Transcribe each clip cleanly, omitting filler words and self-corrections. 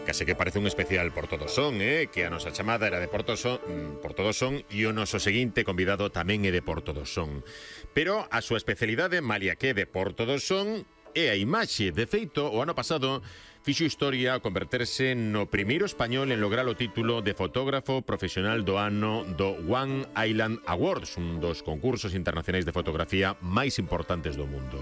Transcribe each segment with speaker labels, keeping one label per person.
Speaker 1: Case que parece un especial por todos son, que a nosa chamada era de por todos son e o noso seguinte convidado tamén é de por todos son. Pero a súa especialidade, malia que de por todos son, é a imaxe. De feito, o ano pasado fixo historia ao converterse no primeiro español en lograr o título de fotógrafo profesional do ano do One Island Awards, un dos concursos internacionais de fotografía máis importantes do mundo.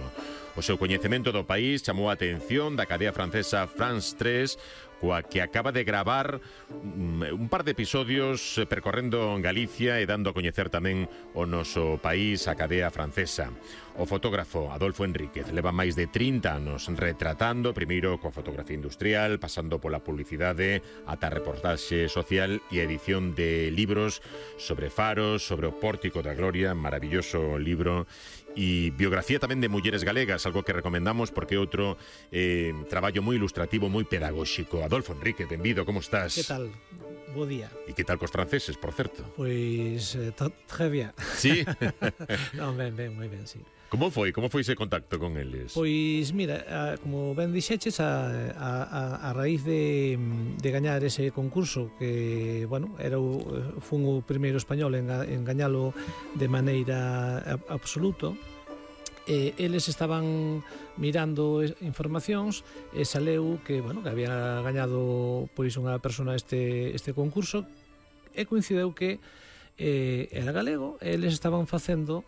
Speaker 1: O seu coñecemento do país chamou a atención da cadea francesa France 3, coa que acaba de gravar un par de episodios percorrendo Galicia e dando a coñecer tamén o noso país, a cadea francesa. O fotógrafo Adolfo Enríquez leva máis de 30 anos retratando, primeiro coa fotografía industrial, pasando pola publicidade, ata a reportaxe social e a edición de libros sobre faros, sobre o Pórtico da Gloria, maravilloso libro, e biografía tamén de mulleres galegas, algo que recomendamos porque é outro traballo moi ilustrativo, moi pedagóxico. Adolfo Enríquez, benvido, como estás?
Speaker 2: Que tal? Bo día.
Speaker 1: E que tal cos franceses, por certo?
Speaker 2: Pois, très bien.
Speaker 1: Sí?
Speaker 2: Non, ben, moi ben, sí.
Speaker 1: Como foi ese contacto con eles?
Speaker 2: Pois, mira, como ben dixeches, a raíz de gañar ese concurso, que, bueno, fun o primeiro español en gañalo de maneira absoluta, eles estaban mirando informacións e saleu que, bueno, que había gañado pois unha persona este concurso, e coincideu que era galego, e eles estaban facendo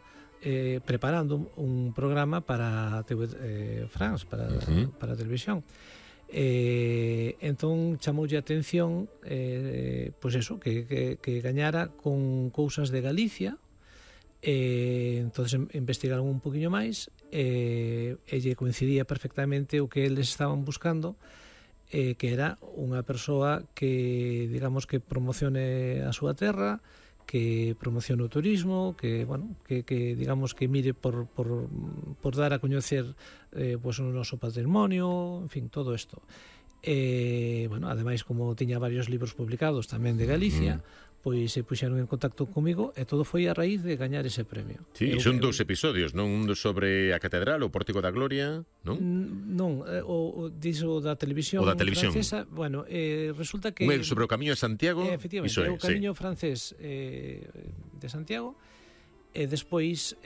Speaker 2: preparando un programa para TV France, para a televisión. Entón chamoulle a atención pois eso, que gañara con cousas de Galicia. Entonces investigaron un poquinho máis e lle coincidía perfectamente o que eles estaban buscando, que era unha persoa que, digamos, que promocione a súa terra, que promocione o turismo, que, bueno, que digamos que mire por dar a coñecer pues, o noso patrimonio, en fin, todo isto. Bueno, ademais, como tiña varios libros publicados tamén de Galicia, pois se puxeron en contacto comigo e todo foi a raíz de gañar ese premio.
Speaker 1: Sí, son dous episodios, non? Un sobre a Catedral, o Pórtico da Gloria, non?
Speaker 2: Non, diso da televisión francesa, bueno, resulta que...
Speaker 1: Sobre o Camiño de Santiago,
Speaker 2: efectivamente, o Camiño francés de Santiago, e despois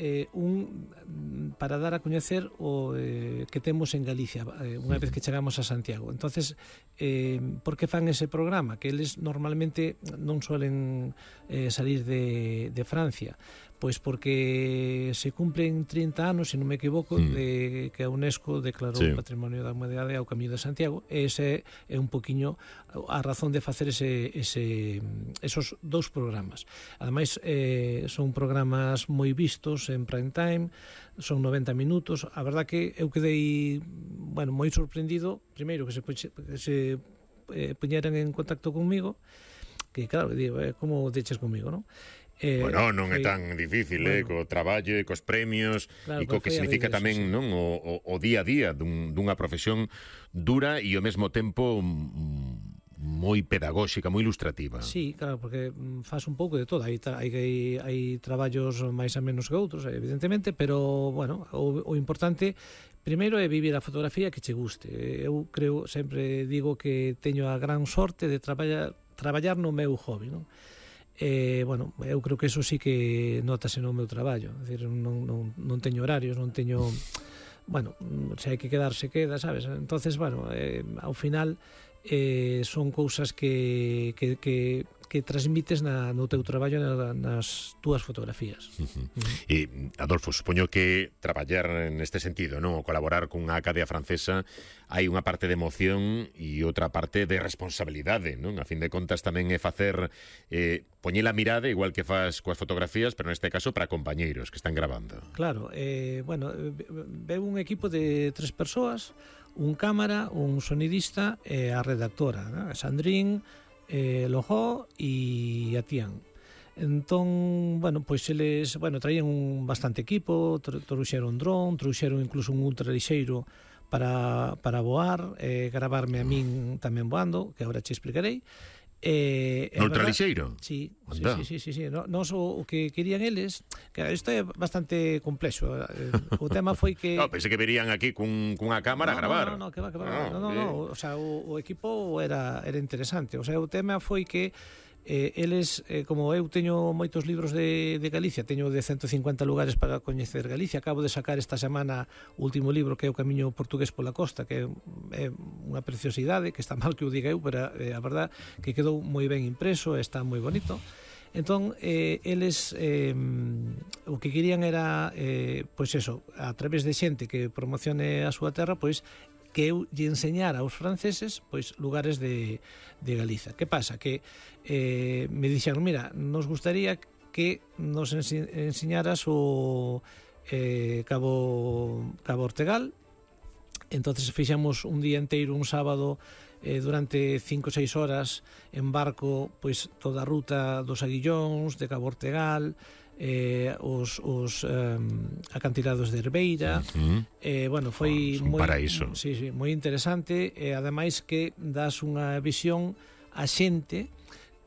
Speaker 2: para dar a coñecer o que temos en Galicia unha vez que chegamos a Santiago. Entonces, por que fan ese programa? Que eles normalmente non suelen salir de Francia. Pois porque se cumplen 30 anos, se non me equivoco, de que a UNESCO declarou Patrimonio da Humanidade ao Camiño de Santiago. Ese é un poquinho a razón de facer esos dous programas. Ademais, son programas moi vistos en prime time, son 90 minutos. A verdad que eu quedei, bueno, moi sorprendido, primeiro que se puñeran en contacto comigo, que claro, digo, como deches comigo, non?
Speaker 1: Bueno, non é tan difícil, co traballo e cos premios, claro, e co que significa tamén, non, o día a día dunha profesión dura e ao mesmo tempo moi pedagóxica, moi ilustrativa.
Speaker 2: Sí, claro, porque faz un pouco de todo. Hai traballos máis a menos que outros, evidentemente, pero, bueno, o importante primeiro é vivir a fotografía que che guste. Eu creo, sempre digo que teño a gran sorte de traballar no meu hobby, non? Bueno, eu creo que eso sí que notase no meu traballo. É dicir, non teño horarios, non teño... Bueno, se hai que quedar, se queda, sabes? Entonces, bueno, ao final son cousas que transmites no teu traballo, nas túas fotografías.
Speaker 1: E, Adolfo, supoño que traballar neste sentido, non? O colaborar cunha cadea francesa, hai unha parte de emoción e outra parte de responsabilidade, non? A fin de contas tamén é facer poñer a mirada, igual que faz coas fotografías, pero neste caso para compañeiros que están grabando.
Speaker 2: Claro, bueno, veu un equipo de 3 persoas, un cámara, un sonidista e a redactora, ¿no? Sandrine, Lojó e a Tian. Entón, bueno, pois eles, bueno, traían un bastante equipo, trouxeron dron, trouxeron incluso un ultra lixeiro para voar, gravarme a min tamén voando, que agora che explicarei.
Speaker 1: Neutralixeiro?
Speaker 2: Sí. Nos o que querían eles, que isto é bastante complexo. O tema foi que
Speaker 1: Pensei que verían aquí cunha cámara a gravar.
Speaker 2: No, o sea, o equipo era interesante. O sea, o tema foi que eles, como eu teño moitos libros de Galicia, teño de 150 lugares para coñecer Galicia, acabo de sacar esta semana o último libro, que é o Camiño Portugués pola Costa, que é unha preciosidade, que está mal que o diga eu, pero a verdad que quedou moi ben impreso, está moi bonito. Entón, eles o que querían era pois eso, a través de xente que promocione a súa terra, pois que eu lle enseñara aos franceses pois lugares de Galiza. Que pasa? Que me dixeron, mira, nos gustaría que nos enseñaras o Cabo Ortegal. Entonces fixemos un día inteiro, un sábado, durante 5 ou 6 horas en barco, pois toda a ruta dos Aguillóns, de Cabo Ortegal, os acantilados de Herbeira. Bueno, foi
Speaker 1: moi paraíso.
Speaker 2: Sí, moi interesante, e ademais que das unha visión a xente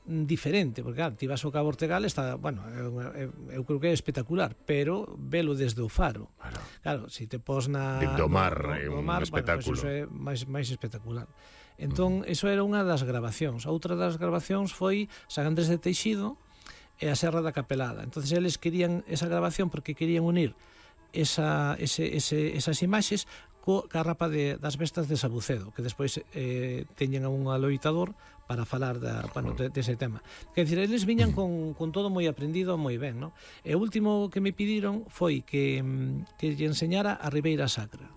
Speaker 2: diferente, porque claro, ti vas ao Cabo Ortegal, está, bueno, eu creo que é espectacular, pero velo desde o faro. Claro, se te pos
Speaker 1: do mar, é un espectáculo.
Speaker 2: Bueno, pues iso é máis espectacular. Entón, iso era unha das grabacións. Outra das grabacións foi San Andrés de Teixido e a Serra da Capelada. Entonces eles querían esa grabación porque querían unir esas imaxes ca rapa das bestas de Sabucedo, que despois teñen un aloitador para falar dese tema. Quer dizer, eles viñan con todo moi aprendido, moi ben, ¿no? E o último que me pediron foi que lle enseñara a Ribeira Sacra,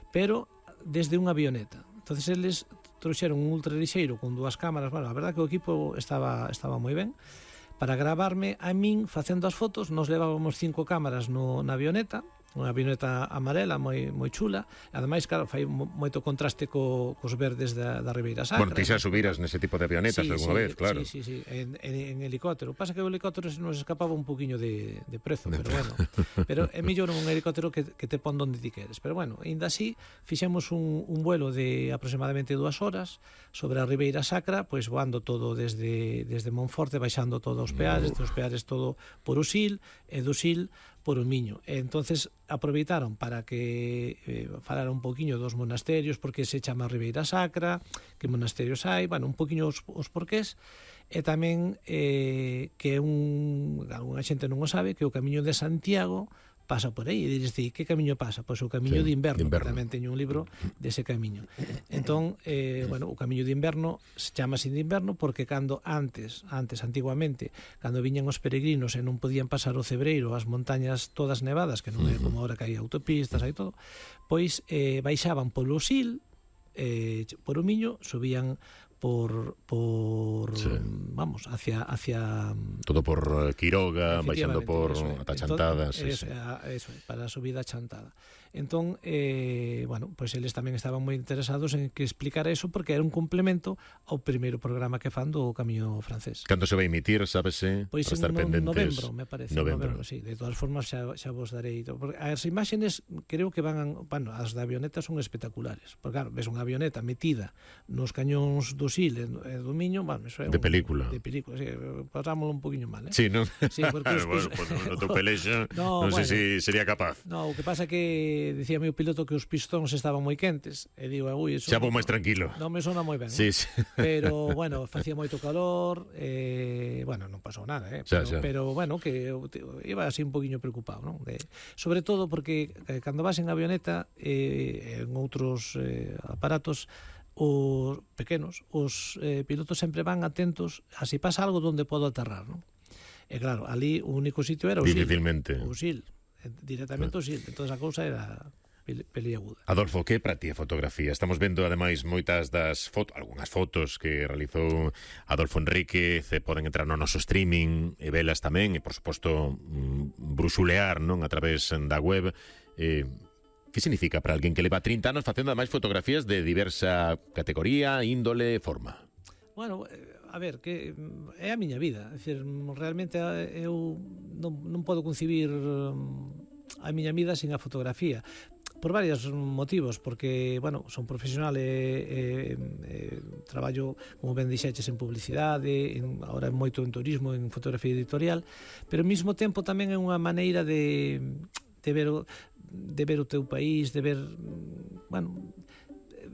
Speaker 2: pero desde unha avioneta. Entonces eles trouxeron un ultralixeiro con 2 cámaras. Bueno, a verdad que o equipo estaba moi ben para gravarme a min facendo as fotos. Nos levábamos 5 cámaras na avioneta, unha avioneta amarela moi chula. Ademais, claro, fai moito contraste cos verdes da Ribeira Sacra.
Speaker 1: Bueno, ti xa subiras nese tipo de avionetas alguna vez, claro.
Speaker 2: Sí, en helicóptero. Pasa que o helicóptero nos escapaba un poquinho de prezo, pero bueno. Pero é mellor un helicóptero que te pon donde ti queres. Pero bueno, ainda así, fixemos un vuelo de aproximadamente 2 horas sobre a Ribeira Sacra, pois voando todo desde Monforte, baixando todos os peares, todo por Usil, e do Usil por o Miño. E entonces aproveitaron para que falara un poquinho dos monasterios, porque se chama Ribeira Sacra, que monasterios hai, bueno, un poquinho os porqués, e tamén que algunha xente non o sabe, que o Camiño de Santiago pasa por aí, e dices, que camiño pasa? Pois o Camiño de Inverno, que tamén teño un libro dese camiño. Entón, bueno, o Camiño de Inverno chamase de inverno porque cando antes, antiguamente, cando viñan os peregrinos e non podían pasar o Cebreiro, as montañas todas nevadas, que non é como ahora que hai autopistas, hai todo, pois baixaban polo Sil, por o Miño, subían vamos, hacia
Speaker 1: todo por Quiroga, baixando por ata Chantada,
Speaker 2: eso, para a subida a Chantada. Entón, bueno, pois eles tamén estaban moi interesados en que explicara eso, porque era un complemento ao primeiro programa que fan do Camiño francés.
Speaker 1: Cando se vai emitir, sábese?
Speaker 2: Pois
Speaker 1: para estar pendentes.
Speaker 2: Novembro, me parece. Novembro, sí. De todas formas, xa vos darei. As imaxes, creo que van, bueno, as da avioneta son espectaculares. Porque, claro, ves unha avioneta metida nos cañóns do Sil e do Miño, bueno, eso é
Speaker 1: de película.
Speaker 2: De película, sí. Pasámoslo un poquinho mal,
Speaker 1: Sí, non?
Speaker 2: Sí, porque
Speaker 1: bueno, no teu pelexo, non sei se sería capaz.
Speaker 2: No, o que pasa que dicía meu piloto que os pistóns estaban moi quentes, e digo, ui, eso
Speaker 1: xa vou máis tranquilo.
Speaker 2: Non me sona moi ben.
Speaker 1: Sí.
Speaker 2: Pero, bueno, facía moito calor, bueno, non pasou nada, pero bueno, que iba así un poquinho preocupado, non? Sobre todo porque cando vas en avioneta en outros aparatos os pequenos, os pilotos sempre van atentos a si pasa algo donde podo aterrar, non? E claro, ali o único sitio era o Sil.
Speaker 1: Difícilmente.
Speaker 2: O Sil, directamente o Sil. Entón a cousa era peliaguda.
Speaker 1: Adolfo, que para ti a fotografía? Estamos vendo ademais moitas das algunhas fotos que realizou Adolfo Enríquez, poden entrar no noso streaming e velas tamén, e por suposto bruxulear, non, a través da web. Que significa para alguén que leva 30 anos facendo ademais fotografías de diversa categoría, índole, forma?
Speaker 2: Bueno, a ver, que é a miña vida. É dicir, realmente eu non podo concibir a miña vida sin a fotografía, por varios motivos, porque, bueno, son profesional traballo, como ben dixeches, en publicidade, ahora moito en turismo, en fotografía editorial, pero ao mesmo tempo tamén é unha maneira de ver o teu país, de ver, bueno,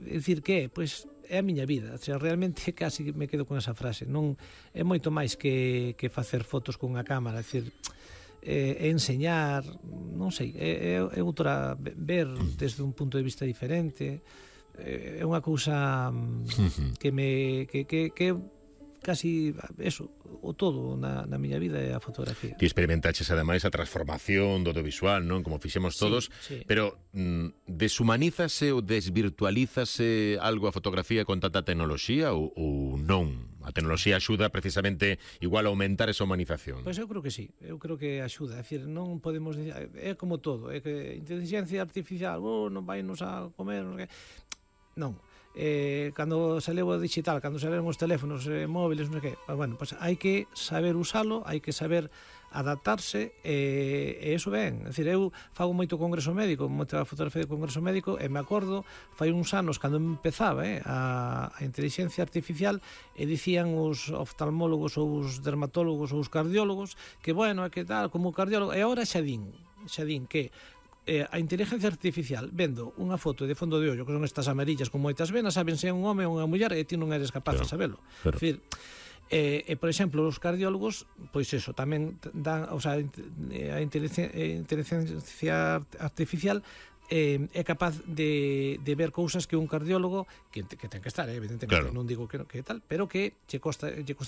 Speaker 2: decir que pois é a miña vida, o sea, realmente casi me quedo con esa frase, non é moito máis que facer fotos con unha cámara, é dicir, é enseñar, non sei, é outra, ver desde un punto de vista diferente, é unha cousa que casi eso, o todo na miña vida é a fotografía.
Speaker 1: Ti experimentaches ademais a transformación do visual, non? Como fixemos todos,
Speaker 2: sí.
Speaker 1: Pero deshumanízase ou desvirtualízase algo a fotografía con tanta tecnoloxía ou non? A tecnoloxía axuda precisamente igual a aumentar esa humanización.
Speaker 2: Pois eu creo que sí, eu creo que axuda, é dicir, non podemos dicir, é como todo, é que inteligencia artificial, non vai nos a comer, non. Cando saleu o digital, cando saleron os teléfonos móviles, non sei que, bueno, pues hai que saber usalo, hai que saber adaptarse, e iso ben, é dicir, eu fago moito congreso médico, moita fotografía de congreso médico, e me acordo fai uns anos cando empezaba a inteligencia artificial, e dicían os oftalmólogos ou os dermatólogos ou os cardiólogos que, bueno, é que tal, como cardiólogo, e agora xa din que a inteligencia artificial, vendo unha foto de fondo de ollo, que son estas amarillas con moitas venas, saben se é un home ou unha muller, e ti non eres capaz de sabelo. É dicir, por exemplo, os cardiólogos, pois eso, tamén dan, o sea, a inteligencia artificial é capaz de ver cousas que un cardiólogo que ten que estar, evidentemente, non digo que tal, pero que lle costa